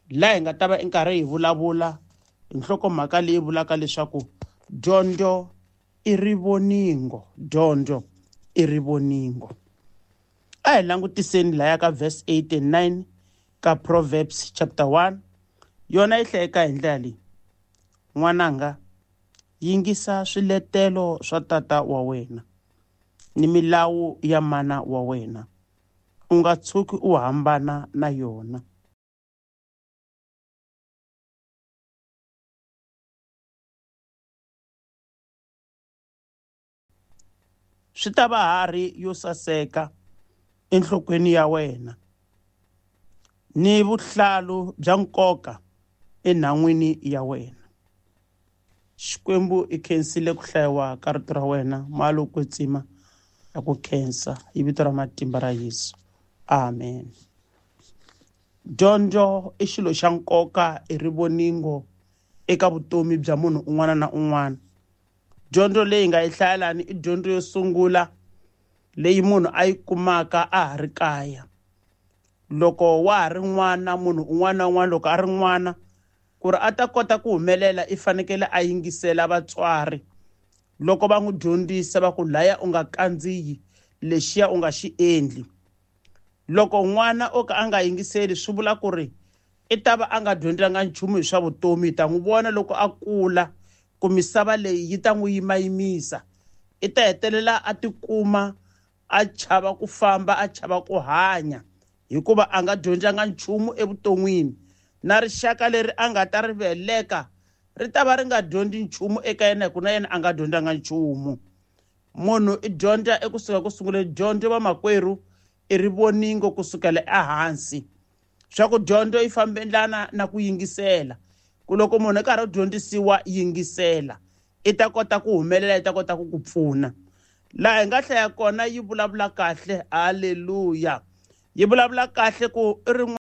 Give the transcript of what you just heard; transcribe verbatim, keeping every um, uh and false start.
Laha hi nga ta va nkarhi hi vulavula hi nhlokomhaka leyi vulaka leswaku dyondzo i rivoningo, dyondzo i rivoningo. A hi langutiseni laya ka verse eight and nine ka Proverbs chapter one. Yona yi hlayeka hi ndlela leyi: n'wananga, yingisa swiletelo swa tata wa wena ni milawu ya mana wa wena, u nga tshuki u hambana na yona. Swi ta va harhi yo saseka enhlokweni ya wena ni vuhlalu bya nkoka enhan'wini ya wena. Xikwembu i khensile ku hlayiwa ka rito ra wena, malo kwetsima ya ku khensa hi vito ra matimba ra Yesu, amen. Dyondzo i xilo xa nkoka, i rivoningo eka vutomi bya munhu un'wana na un'wana. Dyondzo leyi nga yi hlayelani i dyondzo yo sungula leyi munhu a yi kumaka a ha ri kaya. Loko wa ha ri n'wana, munhu un'wana na un'wana loko a ri n'wana, ku ri a ta kota ku humelela i fanekele a yingisela vatswari loko va n'wi dyondzisa va ku laya u nga kandziyi, lexiya u nga xi endli. Loko n'wana o ka a nga yingiseli swi vula ku ri i ta va a nga dyondzanga nchumu hi swa vutomi. Hi ta n'wi vona loko a kula ku misava leyi yi ta n'wi yimayimisa, i ta hetelela a tikuma a chava ku famba, a chava ku hanya, hikuva a nga dyondzanga nchumu evuton'wini. Na rixaka leri a nga ta ri veleka ri ta va ri nga dyondzi nchumu eka yena, hikuva na yena a nga dyondzanga nchumu. Munhu i dyondza ekusuka ku sunguleni. Dyondzo vamakwerhu i rivoningo kusukela ehansi. Swa ku dyondzo yi fambelana na ku yingisela. Ku loko munhu a karhi a dyondzisiwa, yingisela, i ta kota ku humelela, i ta kota ku ku pfuna. Laha hi nga hlaya kona yi vulavula kahle, haleluya. Yi vulavula kahle ku i rin'wana